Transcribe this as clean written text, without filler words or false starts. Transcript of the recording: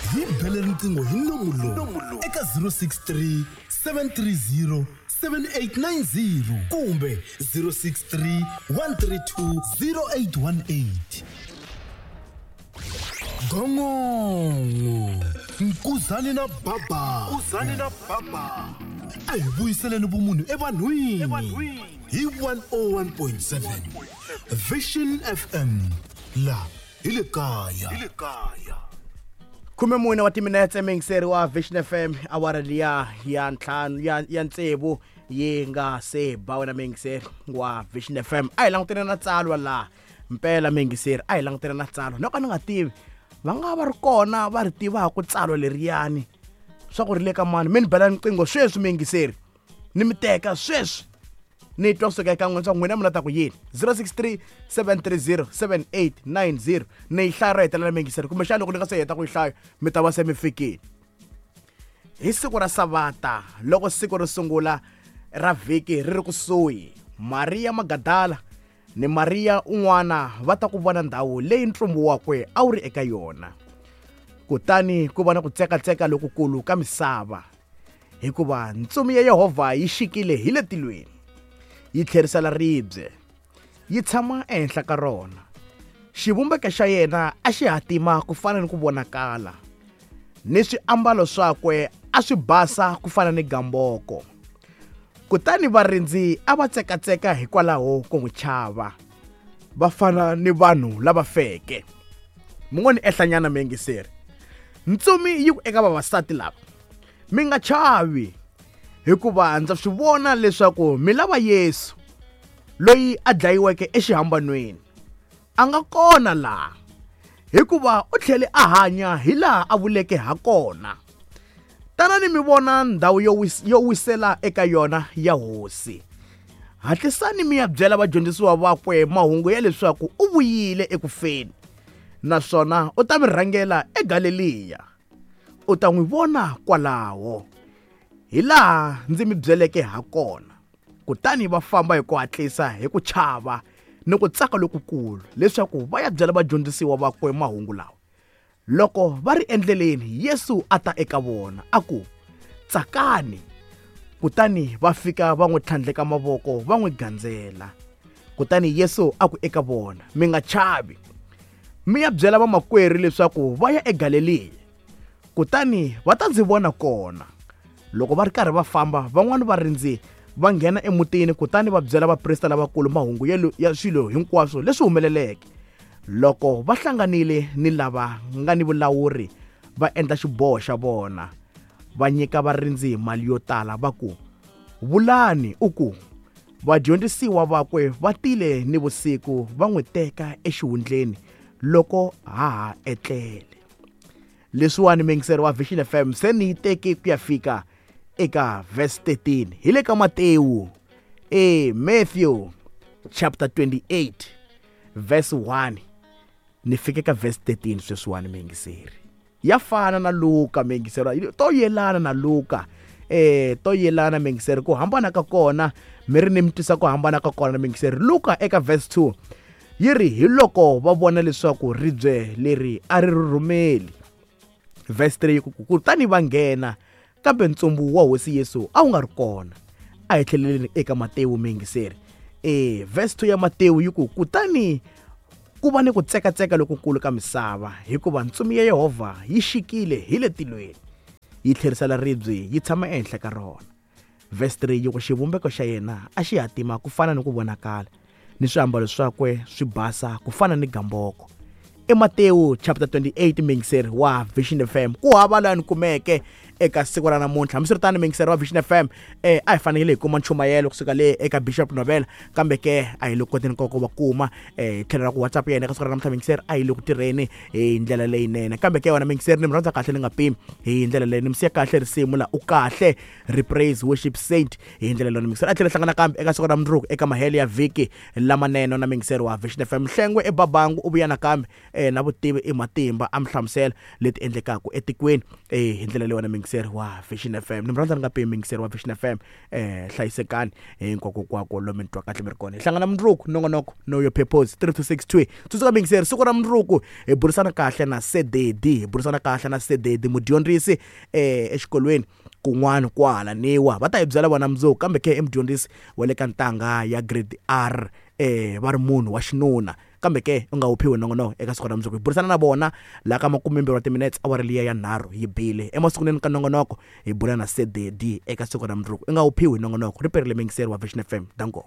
Hi bele riqingho hi nomu lowu eka 063 730 7890 kumbe 063 132 0818. Gongongo Nkuzani na Baba, Nkuzani na Baba, a hi vuyiseleni vumunhu evanhwini hi 101.7 Vision FM, la hi le kaya. 14 wa timinetse, muyingiseri wa Vision FM, awara liya ya ntlhanu ya tsevu yi nga se ba. Wena muyingiseri wa Vision FM, a hi langutene na tsalwa laha mpela. Muyingiseri, a hi langutene na tsalwa. No ka ni nga tivi, va nga va ri kona va ri tivaka tsalwa leriyani swa ku ri le ka mani. Mi ni bela riqingho sweswi, muyingiseri, ni mi teka sweswi, ni twa kusuka eka n'wina swa n'wina mi la ta ku yini. 063 730 7890. Ni yi hlaya ro hetelela, muyingiseri, kumbexana loko ni nga se heta ku yi hlaya mi ta va se mi fikile. Hi siku ra Savata, loko siku ro sungula ra vhiki ri ri kusuhi, Mariya Magadala ni Mariya un'wana va ta ku vona ndhawu leyi ntsumbu wakwe a wu ri eka yona. Kutani ku va na ku tsekatseka lokukulu ka misava, hikuva ntsumi ya Yehovha yi xikile hi le tilweni, yi tlherisela ribye, yi tshama ehenhla ka rona. Xivumbeko xa yena a xi hatima ku fana ni ku vonakala, ni swiambalo swakwe a swi basa ku fana ni gamboko. Kutani varindzi a va tsekatseka hikwalaho ko n'wi chava, va fana ni vanhu lava feke. Mi ngo ni ehlanyana, muyingiseri. Ntsumi yi ku eka vavasati lava: "Mi nga chavi, hikuva ndza swi vona leswaku mi lava Yesu loyi a dlayiweke exihambanweni. A nga kona laha, hikuva u tlhele a hanya hi laha a vuleke ha kona. Tanani mi vona ndhawu yo wisela eka yona ya Hosi. Hatlisani mi ya byela vadyondzisiwa vakwe mahungu ya leswaku u vuyile eku feni, naswona u ta mi rhangela eGaleliya. U ta n'wi vona kwalaho, hi laha ndzi mi byeleke ha kona." Kutani va famba hi ku hatlisa hi ku chava ni ku tsaka lokukulu, leswaku va ya byela vadyondzisiwa vakwe mahungu lawa. Loko va ri endleleni, Yesu a ta eka vona, a ku: "Tsakani!" Kutani va fika va n'wi tlhandleka mavoko, va n'wi gandzela. Kutani Yesu a ku eka vona: "Mi nga chavi. Mi ya byela vamakwerhu leswaku va ya eGaleliya, kutani va ta ndzi vona kona." Loko va ri karhi va famba, van'wana varindzi va nghena emutini, kutani va byela vaprista lavakulu mahungu ya swilo hinkwaswo leswi humeleleke. Loko va hlanganile ni lava nga ni vulawuri, va endla xiboho xa vona. Va nyika varindzi mali yo tala, va ku: "Vulani u ku, 'Vadyondzisiwa vakwe va tile ni vusiku va n'wi teka exihundleni loko ha ha etlele.'" Leswiwani, muyingiseri wa Vision FM, se ni yi teki ku ya fika eka verse 13 hi le ka Matewu, Matthew chapter 28 verse 1, ni fike ka verse 13 sweswiwani, muyingiseri. Ya fana na Luka, muyingiseri, to yelana na Luka, to yelana, muyingiseri. Ku hambana ka kona mi ri ni mi twisa ku hambana ka kona, muyingiseri. Luka eka verse 2 yi ri: "Hi loko va vona leswaku ribye leri a ri rhurhumeli." Verse 3 yi ku: "Kutani va nghena, kambe ntsumbu wa Hosi Yesu a wu nga ri kona." A hi tlheleleni eka Matewu, muyingiseri. Verse 2 ya Matewu yi ku: "Kutani ku va ni ku tsekatseka lokukulu ka misava, hikuva ntsumi ya Yehovha yi xikile hi le tilweni, yi tlherisela ribye, yi tshama ehenhla ka rona." Verse 3 yi ku: "Xivumbeko xa yena a xi hatima ku fana ni ku vonakala, ni swiambalo swakwe swi basa ku fana ni gamboko." I Matewu chapter 28, muyingiseri wa Vision FM. Ku hava laha ni kumeke eka siku ra namuntlha. Hambiswiritano, muyingiseri wa Vision FM, a hi fanekele hi kuma nchumayelo kusuka le eka Bishop Novela, kambe ke a hi le koteni koko va kuma hi tlhelo ra ku WhatsApp yena eka siku ra namuntlha, muyingiseri, a yi le ku tirheni hi ndlela leyinene. Kambe ke wena muyingiseri, ni mi rhandza kahle ni nga pimi. Hi ndlela leyi ni mi siya kahle risimu la u kahle Repraise Worship Saint. Hi ndlela leyi, muyingiseri, a tlhela hlangana kambe eka siku ra mundzuku eka mahelo ya vhiki lamanene na muyingiseri wa Vision FM. Hlengwe ebabangu u vuya nakambe na vutivi i matimba, a mi hlamusela leti endlekaka etikweni hi ndlela leyi wena muyingiseri. muyingiseri wa Vision FM. Ni mi rhandza ni nga pimi muyingiseri wa Vision FM. Hlayisekani hinkwakokwako lomu mi twa kahle mi ri kona. Hi hlangana mundzuku nongonoko Know Your Purpose 3 to 6 2. Tsundzuka muyingiseri, siku ra mundzuku hi burisana kahle na Sededi, hi burisana kahle na Sededi mudyondzisi exikolweni kun'wana kwahala niwa. Va ta hi byela vona mundzuku, kambe ke i mudyondzisi wa le ka ntangha ya grade R, va ri munhu wa xinuna. Kambe ke u nga wu phiwi nongonoko eka siku ra mundzuku. Hi burisana na vona laha ka makumembirhi wa timinetse awara liya ya nharhu yi bile. Emasungulweni ka nongonoko hi bula na Sededi eka siku ra mundzuku. U nga wu phiwi nongonoko, ri perile muyingiseri wa Vision FM. Danko.